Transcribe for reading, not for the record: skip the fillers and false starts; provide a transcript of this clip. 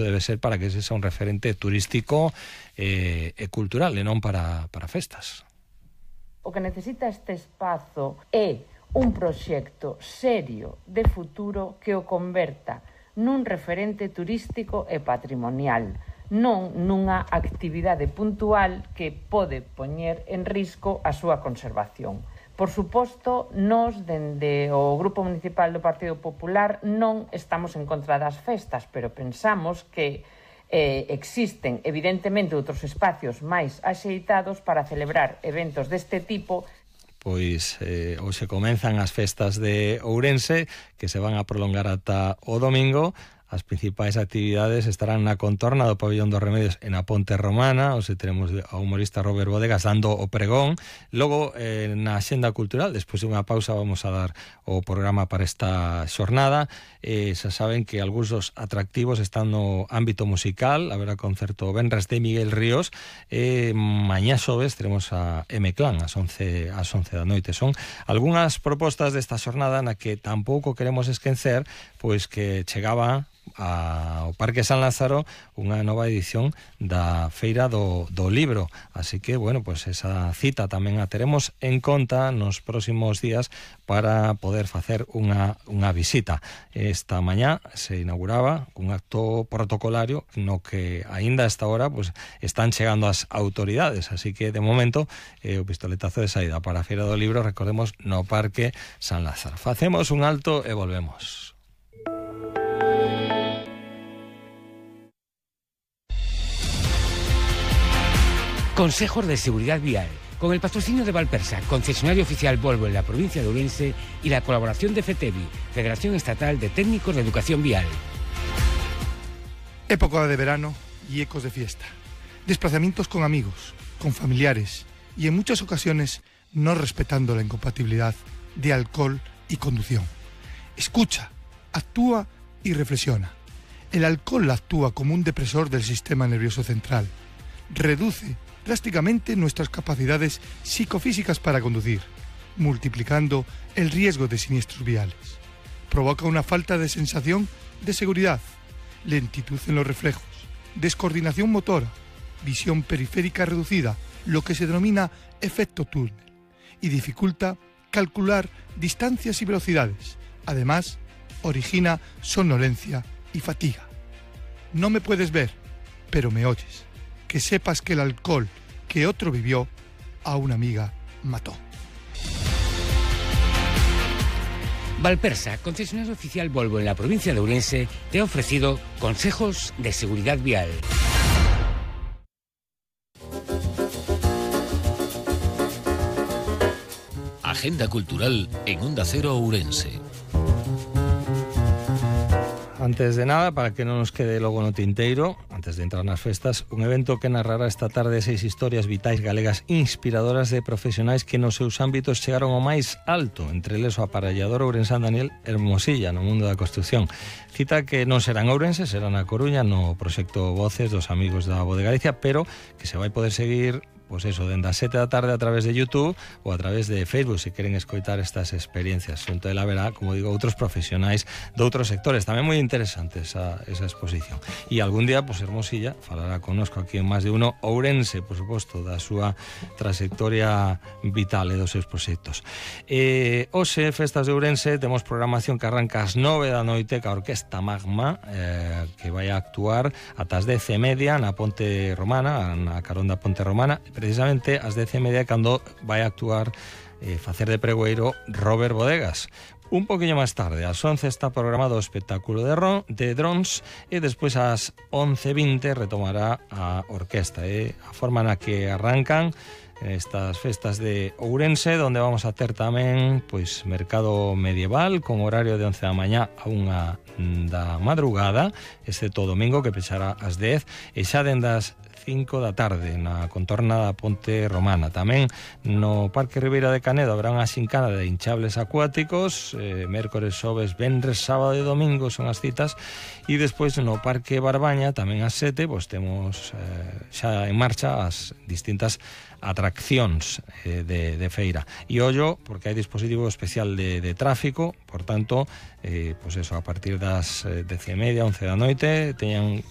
debe ser para que ese sea un referente turístico e cultural, e non para festas. O que necesita este espazo é un proxecto serio de futuro que o converta nun referente turístico e patrimonial, non nunha actividade puntual que pode poñer en risco a súa conservación. Por suposto, nós, dende o Grupo Municipal do Partido Popular, non estamos en contra das festas, pero pensamos que existen, evidentemente, outros espacios máis axeitados para celebrar eventos deste tipo. Pois hoxe comenzan as festas de Ourense, que se van a prolongar ata o domingo. As principais actividades estarán na contorna do Pabillón dos Remedios e na Ponte Romana. Hoxe teremos ao humorista Robert Bodegas dando o pregón. Logo, na Axenda Cultural, despois de unha pausa, vamos a dar o programa para esta xornada. Xa saben que algúns dos atractivos están no ámbito musical. Haberá concerto venres de Miguel Ríos. Mañá xoves teremos a M-Clan ás 11 da noite. Son algunhas propostas desta xornada na que tampouco queremos esquecer pois que chegaba ao Parque San Lázaro unha nova edición da Feira do Libro, así que, bueno, pues esa cita tamén a teremos en conta nos próximos días para poder facer unha visita. Esta mañá se inauguraba un acto protocolario no que aínda a esta hora pues están chegando as autoridades, así que de momento o pistoletazo de saída para a Feira do Libro, recordemos, no Parque San Lázaro. Facemos un alto e volvemos. Consejos de Seguridad Vial, con el patrocinio de Valpersa, concesionario oficial Volvo en la provincia de Ourense, y la colaboración de FETEVI, Federación Estatal de Técnicos de Educación Vial. Época de verano y ecos de fiesta. Desplazamientos con amigos, con familiares y en muchas ocasiones no respetando la incompatibilidad de alcohol y conducción. Escucha, actúa y reflexiona. El alcohol actúa como un depresor del sistema nervioso central. Reduce drásticamente nuestras capacidades psicofísicas para conducir, multiplicando el riesgo de siniestros viales. Provoca una falta de sensación de seguridad, lentitud en los reflejos, descoordinación motora, visión periférica reducida, lo que se denomina efecto túnel, y dificulta calcular distancias y velocidades. Además, origina somnolencia y fatiga. No me puedes ver, pero me oyes. Que sepas que el alcohol que otro vivió, a una amiga mató. Valpersa, concesionario oficial Volvo en la provincia de Ourense, te ha ofrecido consejos de seguridad vial. Agenda cultural en Onda Cero Ourense. Antes de nada, para que non nos quede logo no tinteiro, antes de entrar nas festas, un evento que narrará esta tarde 6 historias vitais galegas inspiradoras de profesionais que nos seus ámbitos chegaron ao máis alto, entre eles o aparellador ourensán Daniel Hermosilla no mundo da construción. Cita que non será en Ourense, será na Coruña, no proxecto Voces dos amigos da Voz de Galicia, pero que se vai poder seguir pois eso, dende as 7 da tarde a través de YouTube ou a través de Facebook, se queren escoitar estas experiencias. Xunto ela verá, como digo, outros profesionais de outros sectores. Tamén moi interesante esa exposición. E algún día, pois Hermosilla falará connosco aquí en Más de Uno Ourense, por suposto, da súa trayectoria vital e dos seus proxectos. Hoxe, festas de Ourense, temos programación que arranca ás 9 da noite ca Orquesta Magma, que vai a actuar ata as 10:30 na Ponte Romana, na carón da Ponte Romana. Precisamente ás 10:30 cando vai a actuar facer de pregoeiro Robert Bodegas. Un poquinho máis tarde, ás 11 está programado o espectáculo de drons e despois ás 11:20 retomará a orquesta. A forma na que arrancan estas festas de Ourense, donde vamos a ter tamén pois mercado medieval con horario de 11 da mañá a 1 da madrugada, excepto o domingo que pechará ás 10, e xa dende as 5 da tarde na contorna da Ponte Romana. Tamén no Parque Ribeira de Canedo habrá unha xincana de hinchables acuáticos, mércores, xoves, venres, sábado e domingo son as citas, e despois no Parque Barbaña tamén ás 7 pois temos xa en marcha as distintas atraccións de feira. E ollo, porque hai dispositivo especial de tráfico, por tanto, pois eso, a partir das 10:30, 11 da noite, teñan